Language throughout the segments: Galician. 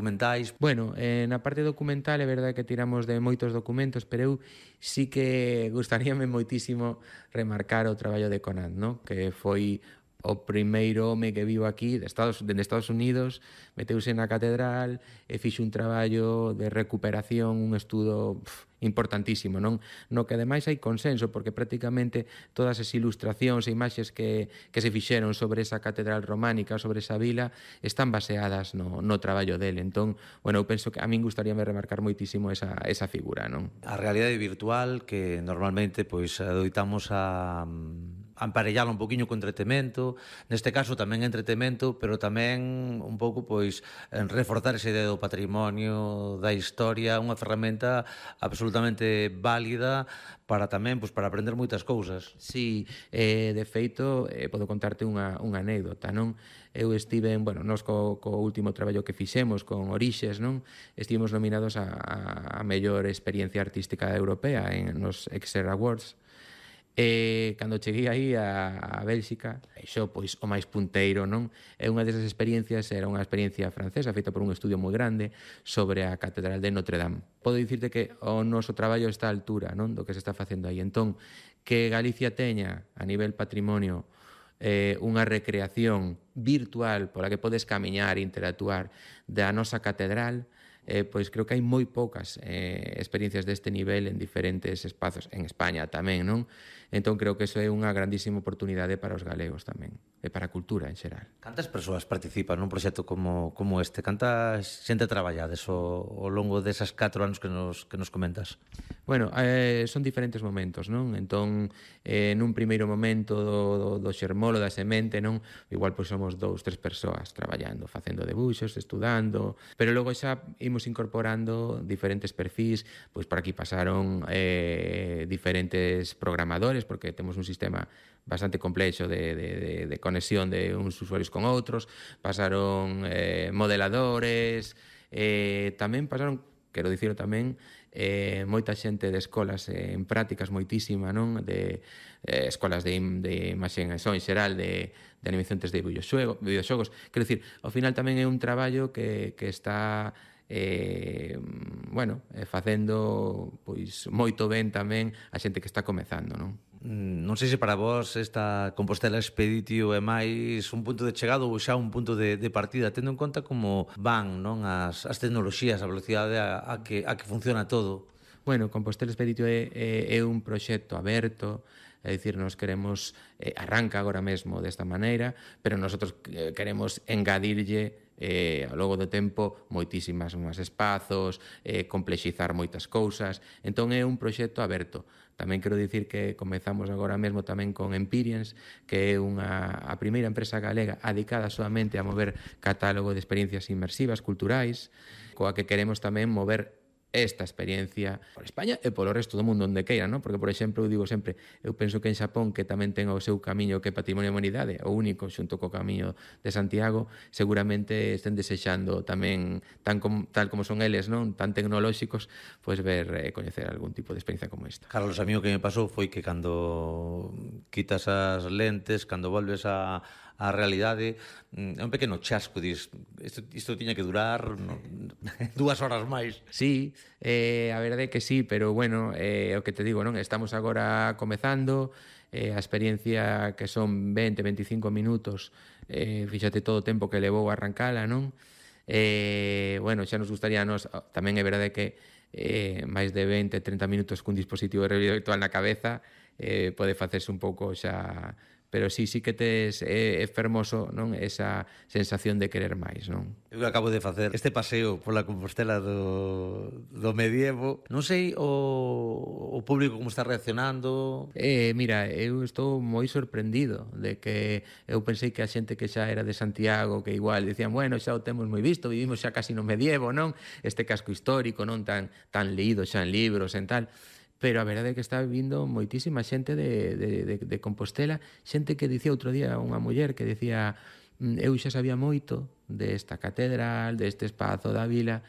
documentais. Bueno, na parte documental é verdade que tiramos de moitos documentos, pero eu sí que gustaríame moitísimo remarcar o traballo de Conant, no? Que foi o primeiro home que vivo aquí dende Estados Unidos, meteuse na catedral e fixo un traballo de recuperación, un estudo importantísimo, non? No que ademais hai consenso, porque prácticamente todas as ilustracións e imaxes que se fixeron sobre esa catedral románica, sobre esa vila, están baseadas no traballo dele. Entón, bueno, eu penso que a min gustaríame remarcar moitísimo esa figura, non? A realidade virtual que normalmente pois adoitamos a emparellala un poquinho co entretemento, neste caso tamén entretemento, pero tamén un pouco pois reforzar esa idea do patrimonio, da historia, unha ferramenta absolutamente válida para tamén pois para aprender moitas cousas. Sí, de feito, podo contarte unha anécdota, non? Eu estive, nós co último traballo que fixemos con Orixes, non? Estivemos nominados a mellor experiencia artística europea nos Exer Awards. E cando cheguei aí a Bélxica, xo pois o máis punteiro, non? E unha desas experiencias era unha experiencia francesa feita por un estudio moi grande sobre a Catedral de Notre Dame. Podo dicirte que o noso traballo está á altura, non? Do que se está facendo aí. Entón, que Galicia teña a nivel patrimonio unha recreación virtual pola que podes camiñar e interactuar da nosa catedral, pois creo que hai moi poucas experiencias deste nivel en diferentes espazos, en España tamén, non? Entón creo que iso é unha grandísima oportunidade para os galegos tamén, e para a cultura en xeral. Cantas persoas participan nun proxecto como este? Canta xente traballades ao longo desas 4 anos que nos comentas? Bueno, son diferentes momentos, non? Entón, nun primeiro momento do xermolo, da semente, non? Igual pois somos 2, 3 persoas traballando, facendo debuxos, estudando, pero logo xa imos incorporando diferentes perfís, pois por aquí pasaron diferentes programadores, porque temos un sistema bastante complexo de conexión de uns usuarios con outros, pasaron modeladores, tamén pasaron, quero dicirlo tamén, moita xente de escolas en prácticas moitísima, non? De escolas de imaxe en xeral, de animación 3D de videoxogos. Quero dicir, ao final tamén é un traballo que está facendo pois moito ben tamén a xente que está comezando, non? Non sei se para vos esta Compostela Expeditio é máis un punto de chegada ou xa un punto de partida, tendo en conta como van, non, as tecnoloxías, a velocidade a que funciona todo. Bueno, Compostela Expeditio é un proxecto aberto, é dicir, nos queremos, arranca agora mesmo desta maneira, pero nosotros queremos engadirlle ao longo do tempo moitísimas máis espazos, complexizar moitas cousas. Entón é un proxecto aberto. Tamén quero dicir que comezamos agora mesmo tamén con Empirians, que é a primeira empresa galega dedicada solamente a mover catálogo de experiencias inmersivas culturais, coa que queremos tamén mover esta experiencia por España e polo resto do mundo onde queira, non? Porque, por exemplo, eu digo sempre, eu penso que en Xapón, que tamén ten o seu camiño que é Patrimonio da Humanidade, o único xunto co camiño de Santiago, seguramente estén desexando tamén, tal como son eles, non? Tan tecnolóxicos, pois ver e coñecer algún tipo de experiencia como esta. Carlos, a mí o que me pasou foi que cando quitas as lentes, cando volves a realidade, é un pequeno chasco, dis, isto tiña que durar 2 horas máis. Sí, a verdade é que sí, pero bueno, o que te digo, non? Estamos agora comezando, a experiencia que son 20-25 minutos, fíxate todo o tempo que levou a arrancala, non? Bueno, xa nos gustaría a nos, tamén é verdade que máis de 20-30 minutos cun dispositivo de realidade virtual na cabeza pode facerse un pouco xa, pero sí que tes é fermoso, non? Esa sensación de querer máis, non? Eu acabo de facer este paseo pola Compostela do medievo. Non sei o público como está reaccionando. Mira, eu estou moi sorprendido de que eu pensei que a xente que xa era de Santiago, que igual dicían, bueno, xa o temos moi visto, vivimos xa casi no medievo, non? Este casco histórico, non tan leído xa en libros, en tal. Pero a verdade é que está vindo moitísima xente de Compostela, xente que dicía outro día unha muller que dicía, eu xa sabía moito desta catedral, deste espazo da vila,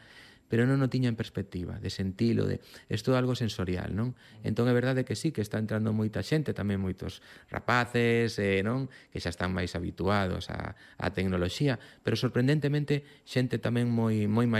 pero non o tiña en perspectiva, de sentilo, isto é algo sensorial, non? Entón é verdade que sí, que está entrando moita xente, tamén moitos rapaces, non? Que xa están máis habituados á tecnoloxía, pero sorprendentemente xente tamén moi